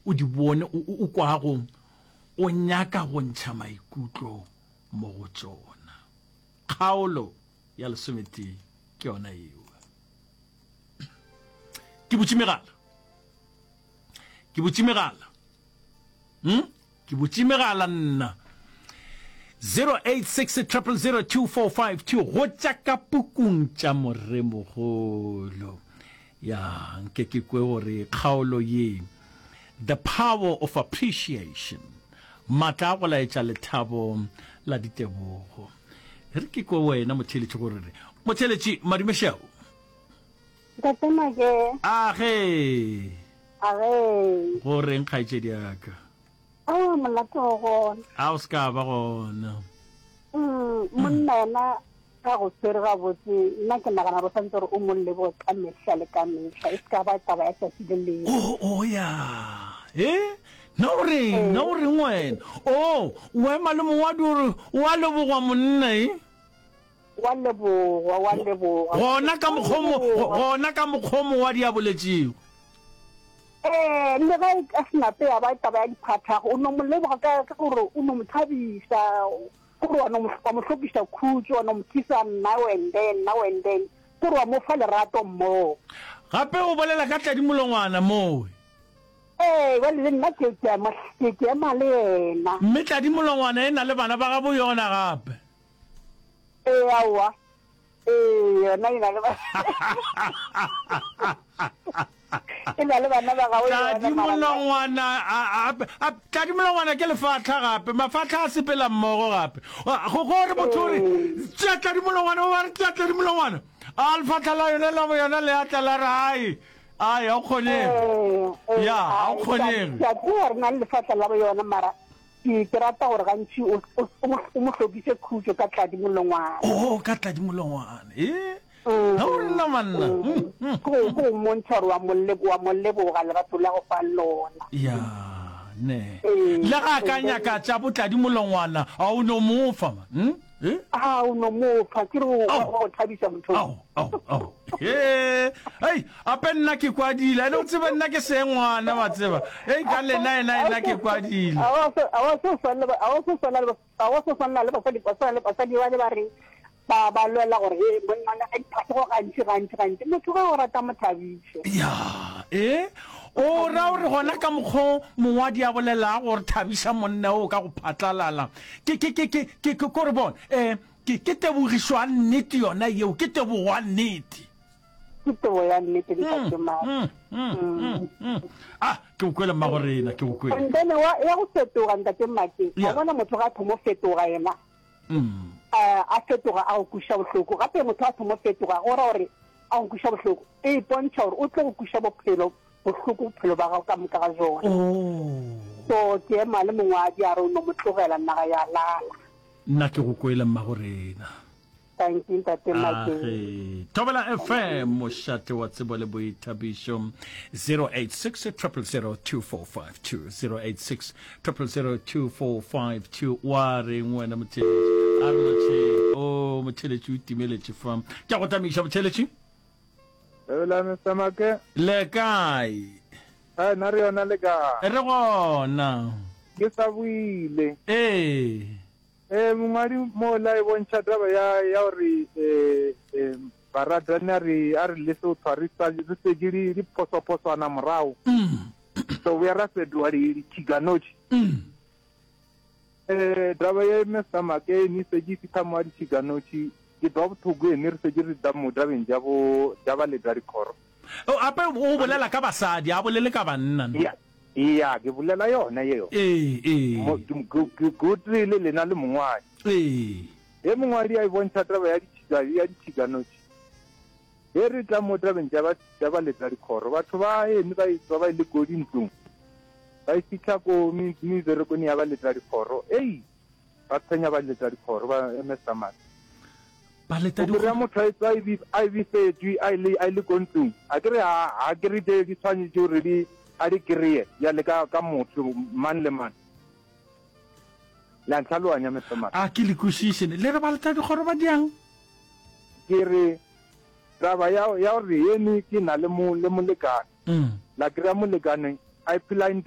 o di bone o, o, o kwago o nyaka go ntšha maikutlo mo go tšona. Kgaolo ya lesometee ke yona yeo. Ke butše megala. Ke butše megala. Hmm? Ke butše megala nna. 086 000 2452 go tša ka pukung tša Moremogolo. Ya, nke ke kwe gore kgaolo ye, The Power of Appreciation, Matla a go laetša lethabo la ditebogo. Re ke kwe wena motheeletši gore re. Motheeletši, madume šeo. Ntate Make. Age. Age. Go reng kgaetšedi ya ka? Aowa molato o gona. A o se ka ba gona. Mm, monna yena ka go tshwere gabotse, nna ke nagana gore o santse gore o mo leboge ka mehla le ka mehla, e se ka ba taba ya tšatši le lengwe. Oh, oh ya. Eh? Na o reng? Na o reng wena? Oh, o ema le mongwadi o re o a lebogwa monna e? Wa lebogwa, wa lebogwa. Gona ka mokgwa mo, gona ka mokgwa mongwadi a boletšego. Ee, le ge e ka se nape ya ba taba ya diphathago, o no mo leboga ka, ka gore o no mo thabiša, gore wa no mo, wa mo hlokiša khutšo, wa no mo kisa now and then, now and then, gore wa mo fa lerato mmogo. Gape o bolela ka tladimolongwana mowe. Ee, bjale le nna ke, ke a mo, ke, ke ema le yena. Mme tladimolongwana e na le bana ba gabo yona gape. Ee, aowa. Ee, yona e na le ba e na le bana ba gago yona, Tladi mara nna molongwana a, a, a, tladi molongwana ke lefatlha gape mafatlha a sepela mmogo gape Wa- go go re motho o re ee tšea tladi molongwana o ba re tšea tladi molongwana a lefatlha la yone la yona le atla la re ai ai ga o kgonege ee ee ya ga o ai ke a kgonege ke a tseba gore na le lefatlha la yona mara Ke, ke rata gore gantši o, o, o mo, o mo hlokiše khutšo ka tladi molongwana. Oo, ka tladi molongwana. Ee, ga o re nna manna. Mm, mm. Ke go, ke go mmontšha gore wa mo le, wa mo leboga lerato la go fang lona. Ya, ne. Ee, Le ga a ka and then. nyaka tša botladi molongwana, a o no mo fa, man. Hmm? Eh? A o no mo fa, ke re o, Ao. wa go thabiša motho. Ao, ao, ao. He, hei, ape nna ke kwadile. Ene o tsebe nna ke sengwana, wa tseba. Hei, ka lena ena ena ke kwadile. A wa se, a wa se swana le, a wa se swana le, a wa se swana le basadi, ba swana le basadi ba le ba reng ba, ba lwela gore he monna o nyaka diphahlogo gantši, gantši, gantši. Motho ge o rata mo thabiše. Ya, e, o ra gore gona ka mokgo mongwadi a bolelago gore thabiša monna o ka go phatlalala. Ke, ke, ke, ke, ke, ke, ko re bona, eh, ke, ke tebogišo ya nnete yona yeo, ke tebogo ya nnete. Ke tebo ya nnete, Ntate Madi. Mm, mm, mm, mm. Ah, ke go kwele mmagorena, ke go kwele. And then wa, ya go fetoga, Ntate Madi, wa Yeah. bona motho ga a thomo fetoga yena, Mm. eh, a fetoga a go kweša bohloko. Gape motho a thomo fetoga, go ra gore a go kweša bohloko, e ipontšha gore o tlo go kweša bophelo bohloko bophelo ba gago ka moka ga jona. Oh. So ke ema le mongwadi a re o no mo tlogela naga ya lala. Nna ke go kwele mmagorena. Thank you ntate Makeng. Age. Thobela FM, mošate wa tsebo le boithabišo. 086 000 2452 086 000 2452 wa reng wena motheletši? A re lotšheng. O motheletši o timeletše fa. Ke a go tamiša motheletši. Thobela Mister Make. Le kae? Hai, na re yona le kae? Re gona. Ke sa boile. Ee. Ee, mongwadi mo la e bontšha taba ya ya gore eh, eh, baratani a re a re lese go tshwa re sa re setše di di phosophoswana morago. Mm. So boya ra fetoga di ditšhikanotši. Mm. Eh, taba ye Mister Make ni setše e fihla mo a ditšhikanotši ke twa bohloko ene re setše re tla mo tabeng tša bo tša ba leta dikhoro. O ape o bolela ka basadi, a bolele ka banna. Ya, ya, ke bolela yona yeo. Ee, ee. Mo, ke, ke, ke, ke o tee le lena le mongwadi. Ee. Ge mongwadi a e bontšha taba ya ditšhika, ya ditšhikanotši, ge re tla mo tabeng tša ba, tša ba leta dikhoro, batho ba eme ba etšwa ba ile ko dintlong, ba e fihla ko me, meberekong ya ba leta dikhoro, ei, Ba tshwenya baletadikhoro ba MS Samane. Baletadikhoro. O kry-a motho a etswa a e bifetšwe a ile a ile ko ntlong. A ke re ha ha ke re tše di tshwanetše gore di a di kry-e bjale ka ka motho mang le mang. Le a ntlhaloganya Mister Mane? A ke le kwešiše. Le re baletadikhoro ba diang? Ke re taba ya ya gore ene ke na le mo le molekane. La kry-a molekane a phela a.